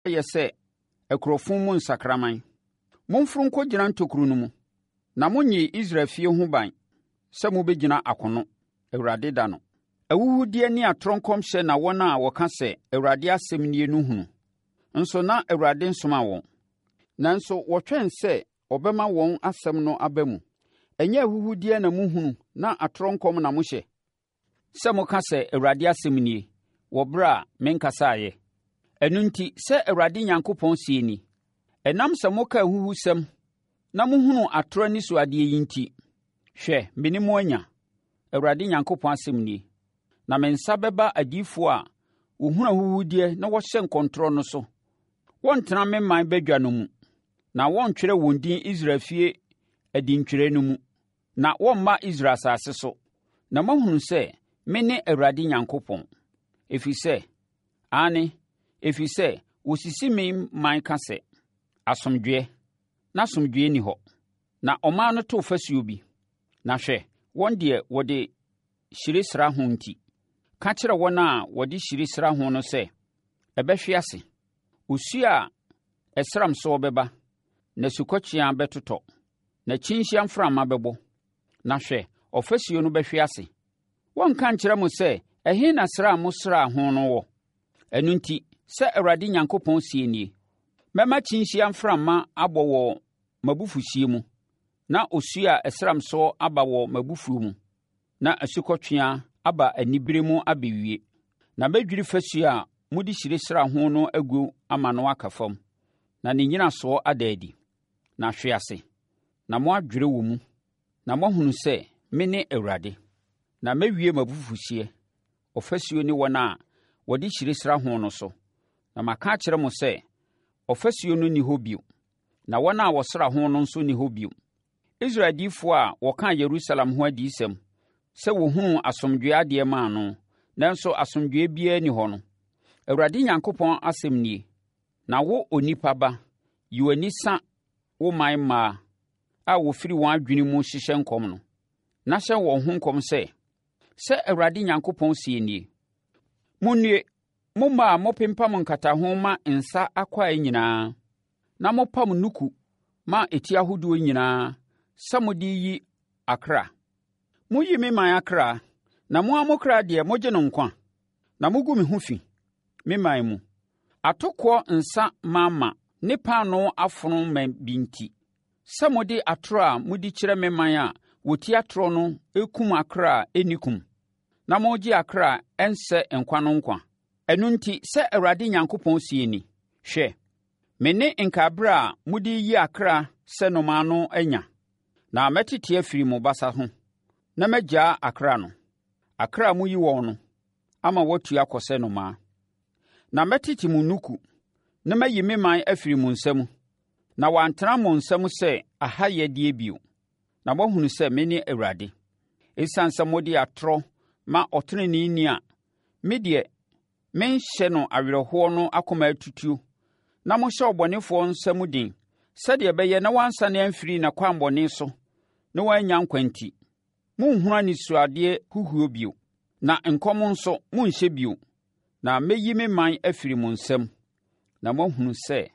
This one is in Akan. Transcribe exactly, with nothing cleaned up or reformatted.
Moayɛ sɛ akurofo mu nsakraman. Momforo nkɔgyina ntokuro no mu, na monnyee Israel efie ho ban sɛ mobɛgyina akono, Awurade da no. Ahuhudeɛ ne atorɔ nkɔmhyɛ na wɔn a wɔka sɛ, ‘ Awurade asɛm nie’ no hunu, nso na Awurade nsomaa wɔn. Nanso wɔtwɛn sɛ ɔbɛma wɔn asɛm no aba mu. Ɛnyɛ ahuhudeɛ na mohunu na atorɔ nkɔm na mohyɛ? Sɛ moka sɛ, ‘ Awurade asɛm nie,’ wɔ ɛberɛ a menkasaeɛ? Ɛno enti, sɛ Awurade Onyankopɔn seɛ nie: Ɛnam sɛ moka ahuhusɛm na mohunu atorɔ anisoadeɛ yi enti, hwɛ, me ne mo anya, Awurade Nyankopɔn asɛm nie. Na me nsa bɛba adiyifoɔ a wɔhunu ahuhudeɛ na wɔhyɛ nkɔmtorɔ no so. Wɔrentena me ɔman badwa no mu, na wɔrentwerɛ wɔn din Israel efie edintwerɛ no mu, na wɔremma Israel asase so, na moahunu sɛ mene Awurade Nyankopɔn. Ɛfiri sɛ, aane, ɛfiri sɛ wɔsisi me man ka sɛ, Asomdwoeɛ, na asomdwoeɛ nni hɔ. Na ɔman no to fasuo bi, na hwɛ, wɔn deɛ wɔde hyire sra ho nti, ka kyerɛ wɔn a wɔde hyire sra ho no sɛ, ɛbɛhwe ase. Osuo a ɛsram soɔ bɛba, na asukɔtweaa bɛtotɔ, na kyinhyia mframa bɛbɔ, na hwɛ, ɔfasuo no bɛhwe ase. Wɔrenka nkyerɛ mo sɛ, Ɛhe na sra a mosraa ho no wɔ? Ɛno nti, sɛ Awurade Nyankopɔn seɛ nie: Mɛma kyinhyia mframa abɔ wɔ m'abufuhyeɛ mu, na osuo a ɛsram soɔ aba wɔ m'abufuo mu, na asukɔtweaa aba anibereɛ mu abɛwie. Na mɛdwiri fasuo a mode hyire sraa ho no agu ama no aka fam, na ne nnyinasoɔ ada adi, na ahwe ase, na moadwerɛ wɔ mu, na moahunu sɛ mene Awurade. Na mɛwie m'abufuhyeɛ, ɔfasuo ne wɔn a wɔde hyire sra ho no so, na maka akyerɛ mo sɛ, Ɔfasuo no nni hɔ bio, na wɔn a wɔsra ho no nso nni hɔ bio. Israel adiyifoɔ a wɔkaa Yerusalem ho adiyisɛm sɛ wɔhunuu asomdwoeɛ adeɛ maa no, nanso asomdwoeɛ biara nni hɔ no, Awurade Nyankopɔn asɛm nie. Na wo onipa ba, yi w'ani sa wo man mmaa a wɔfiri wɔn adwene mu hyehyɛ nkɔm no, na hyɛ wɔn ho nkɔm sɛ, 'Sɛ Awurade Nyankopɔn seɛ nie: Monnue, mo mmaa a mopempam nkataho ma nsa akwaa nyinaa, na mopam nnuku ma eti ahodoɔ nyinaa sɛ mode reyi akra. Moyi me man akra, na mo ara mo kra deɛ, mogye no nkwa? Na mogu me ho fi, me man mu, atokoɔ nsa mama ne paanoo afono ma bi nti, sɛ mode atorɔ a modi kyerɛ me man a wɔti atorɔ no rekum akra a ɛnni kum, na moregye akra a ɛnsɛ nkwa no nkwa. Ɛno nti, sɛ Awurade Nyankopɔn seɛ ni, Hwɛ, me ne nkaeɛberɛ a mode reyi akra sɛ nnomaa no anya, na mɛtete afiri mo basa ho, na magyaa akra no, akra a moyi wɔn no, ama wɔatu akɔ sɛ nnomaa. Na mɛtete mo nnuku, na mayi me man afiri mo nsa mu, na wɔantena mo nsam sɛ ahayɛdeɛ bio, na moahunu sɛ mene Awurade. Esiane sɛ mode atorɔ ma ɔteneneeni a me deɛ menhyɛ no awerɛhoɔ no akoma atutuo, na mohyɛ ɔbɔnefoɔ nsa mu den, sɛdeɛ ɛbɛyɛ na wansane amfiri n'akwammɔne so na wannya nkwa nti, Morenhunu anisoadeɛ huhuo bio, na nkɔm nso, morenhyɛ bio, na mɛyi me man afiri mo nsam, na moahunu sɛ